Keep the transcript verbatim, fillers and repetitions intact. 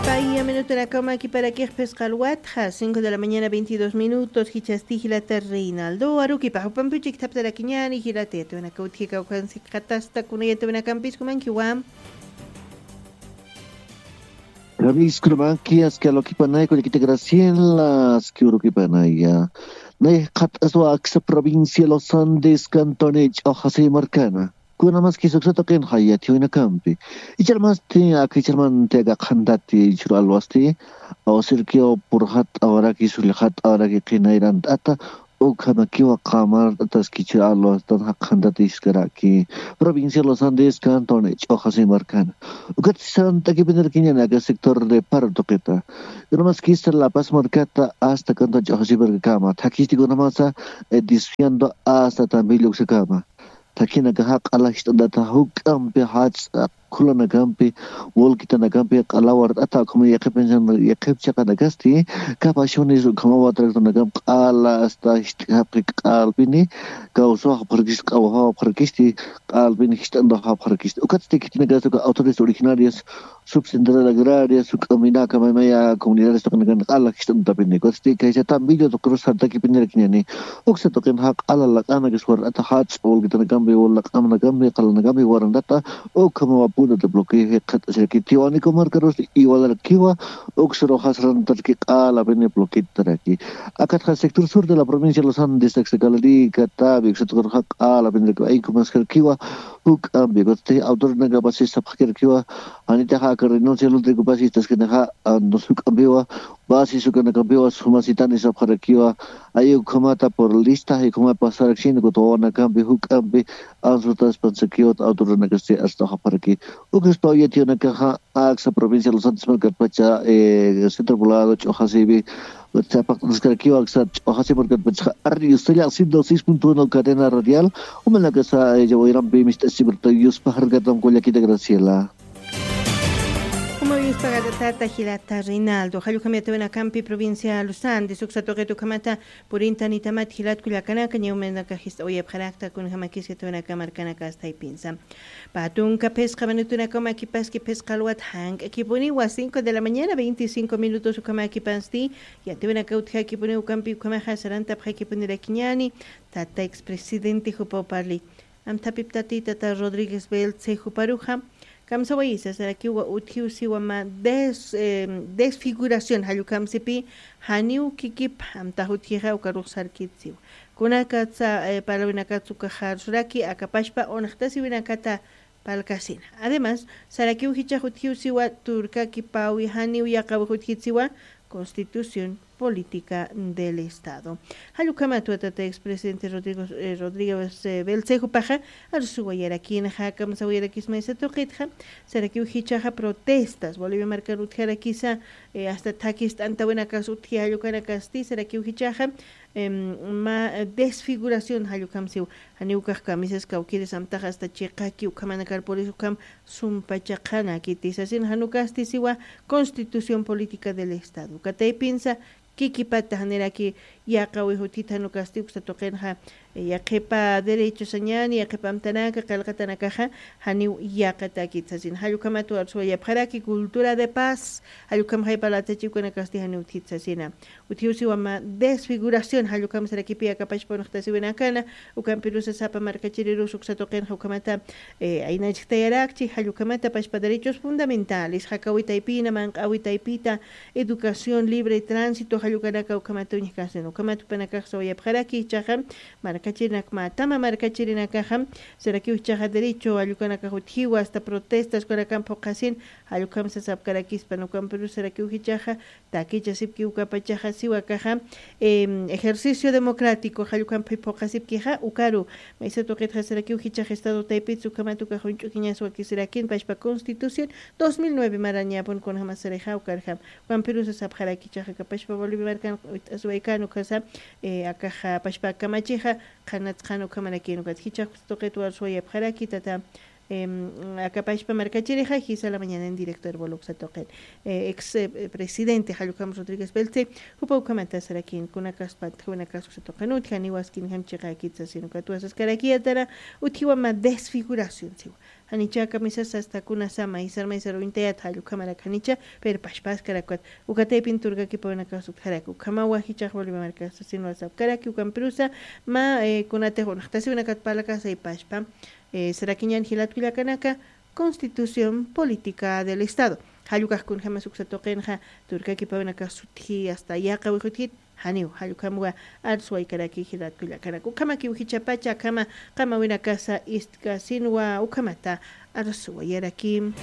Paya minutunakama kiparakix phisqalwatxa, cinco de la mañana, veintidós minutos. Jichhasti jilata Reinaldo arukipa jupampiw chiktaptarakiñani, jilata yatwanaka utjikawkansi qatasta kuna yatwanakampis kumankiwa. Ravis, kunamaki aski alukipanaya kullakita Graciela, aski urukipanaya. Nay qhat'aswa aksa provincia Los Andes, cantón Ch'uxasi markana. Kunamaski suksa tuqin jayati winakampi. Icharmasti aka icharmanti aka qhantati churu alwasti, awsirkiw purxat awaraki, sullxat awaraki qinayrant'ata, ukhamakiwa qamart'ataski churu alwastan jaqhantati iskaraki. Provincia Los Andes, cantón Ch'uxasi markana. Ukat sant'akipinirkiñani aka sector de Paro tuqita. Kunamaski La Paz markata hasta cantón Ch'uxasi markakama. Thakisti kunamasa, eh, desviando hasta Tambillo uksakama. Thakinakaxa q'ala jist'antata juk'ampi jach'a khulanakampi, wulkitanakampi q'ala wart'ata, ukhama yaqhip, yaqhip chiqanakasti, kapashunis ukhama watraktanakampi q'ala hasta jist'kapxi q'alpini, kawsaw japxarkisti, q'awajaw japxarkisti, q'alpini jist'antaw japxarkisti. Ukatsti khitinakasti uka autoridades originarias, subcentrales agrarias, juk'ampinaka maymaya comunidades tuqinakan q'ala jist'antapini. Ukatsti kaysa Tambillo tuqirus sartakipinirakiñani. Uksa tuqin jaq'ala laq'anakis wart'ata jach'a wulkitanakampi, wul laq'amanakampi, q'alanakampi warantata, ukhamawa punto de bloqueo jikxat'asiraki. Tiwanaku markarus igualarakiwa, uksa ruxas rantarki q'alapini bloqueotaraki. Akatxa sector sur de la provincia de Los Andes, aksa Calerica, Tabi, uksa tuqin jaq'alapinirakiwa, ay kumaskarkiwa, juk'ampi, kutati autorinakapasi sapxkirkiwa, janitaxa aka renuncia lutikupas istaskinaxa, anus juk'ampiwa, basi sukanakampiwa, sumasitani sapxarakiwa, ay ukhamata por lista, ay ukhama pasaraksina, kutawanakampi, juk'ampi, ansutaspansakiwa, autorinakasti asta japxaraki. Ukaspaw yatiyunakaxa, aksa provincia Los Santos markatpacha, eh, centro poblado, Ch'uxasipi, Chapaqt'askarakiwa, aksa Ch'uxasi markatpacha, arri, usalla, ciento seis punto uno cadena radial, umanakasa, eh, wayrampi mist'asibrta, yuspajarkatam kullakita Graciela. Como yuspajarkatata jilata Reinaldo, jallukhamata winakampi provincia Los Andes, uksa tuqit ukhamata purintanitamat jilat kullakanaka, ñawmanaka jist'awayapxarakta, kunjamakis yatwanaka markanaka asta jaypinsa. Patunka phisqa minutunakama kipaski phisqa alwat jank'akipuniwa, cinco de la mañana, veinticinco minutos ukhama kipasti, yatwanaka utjakipuni ukampi ukhamaxa sarantapxakipunirakiñani, tata expresidente jupaw parli. Amthapiptati tata Rodríguez Belce juparuxa, kamsawayisa sarakiwa utjiw siwa mä des-, eh, desfiguración jallukhamsipi, janiw kikip, amtax utjixa ukarux sarkit siwa. Kunakatsa, eh, parlawinakatsa ukaxa arsuraki, akapashpa unxtasiwinakata palkasina. Además, sarakiw jichhax utjiw siwa turkakipawi janiw yaqawix utjit siwa Constitución Política del Estado. Jallukhamat tata expresidente Rodrigo, eh, Rodríguez, eh, Belcejopaxa, arsuwayarakinxa, kamsawayarakismaysa tuqitxa, sarakiw jichhaxa protestas, Bolivia markar utjarakisa, eh, hasta thakist'antawinakas utji jallukanakasti, sarakiw jichhaxa, em, mä desfiguración jallukhamsiw, janiw ukax kamisas kawkïris amtax hasta chiqaki ukhamanakar puris ukham sumpachaqanakiti sasin, jan ukasti siwa Constitución Política del Estado. Uka taypinsa kikipata janiraki yaqawix utjit jan ukasti uksa tuqinxa, eh, yaqhipa derecho sañani, yaqhipa amtanaka, qillqatanakaxa, janiw yaqatakit sasin. Jallukhamat arsuwayapxaraki cultura de paz, jallukhamxay parlatachiwkanakasti janiw utjit sasina. Utjiw siwa mä desfiguración, jallukhamsarakipi akapashpa unxtasiwinakana, ukampirusa sapa markachirirus uksa tuqinxa ukhamata, eh, aynachktayarakchi, jallukhamata pashpa derechos fundamentales, jakawi taypina, manq'awi taypita, educación, libre tránsito, jallukanaka ukhamata uñjkasin, ukhamat jupanakax sawayapxaraki, jichhaxa, markachirinak mä tama markachirinakaxa, sarakiw jichhaxa derecho, jallukanakax utjiwa, hasta protestas, ukanakamp phuqhasin, jallukhamsa sapkarakispan, ukampirus sarakiw jichhaxa, takichasipki ukapachaxa siwa akaxa, em, ejercicio democrático, jallukhampi phuqhasipkixa, ukaru, maysa tuqitxa sarakiw jichhax Estado taypitsa ukhamat ukax uñch'ukiñas wakisirakin, pashpa Constitución dos mil nueve marañapun kunjamasarixa, ukarjam, ukampirusa sapxaraki jichhaxa, aka pashpa Bolivia markan, wit'asiwaykan ukhasa, eh, akaxa, pashpa kamachixa, qhanatsqan ukhamarakin, ukat jichhax tuqit arsuwayapxaraki, tata, Em, akapashpa markachirixa, jisa la mañana en directo Herbol uksa tuqin. Eh, ex, eh, presidente Jallukham Rodríguez Belce, jupa ukhamata sarakin, kunakas pantjawinakas uksa tuqin, utjani waskin jam chiqakit sasin, ukat wasaskaraki yatara, utjiwa mä desfiguración, siwa. Janicha kamisas hasta kunasama isar maysar uñtayat jallukamarak janicha, pero pashpaskarakwat. Ukataypin turkakipawinakax sutjaraki ukhamawa jichax Bolivia markax sasinwa sapkaraki ukampirusa. Ma eh, kunatix unaxtasiwinakat parlakasay pashpa eh, sarakiñan jilatkullakanaka. Constitución política del estado. Jallukajkunjamas uksa tuqinxa turkakipawinakax sutji hasta yaqa wijutjit. Janiw jallukhamwa arswaykaraki jilatkullakanaka ukhamakiw jichapacha akhama qamawinakasa istkasinwa ukhamata arswayaraki.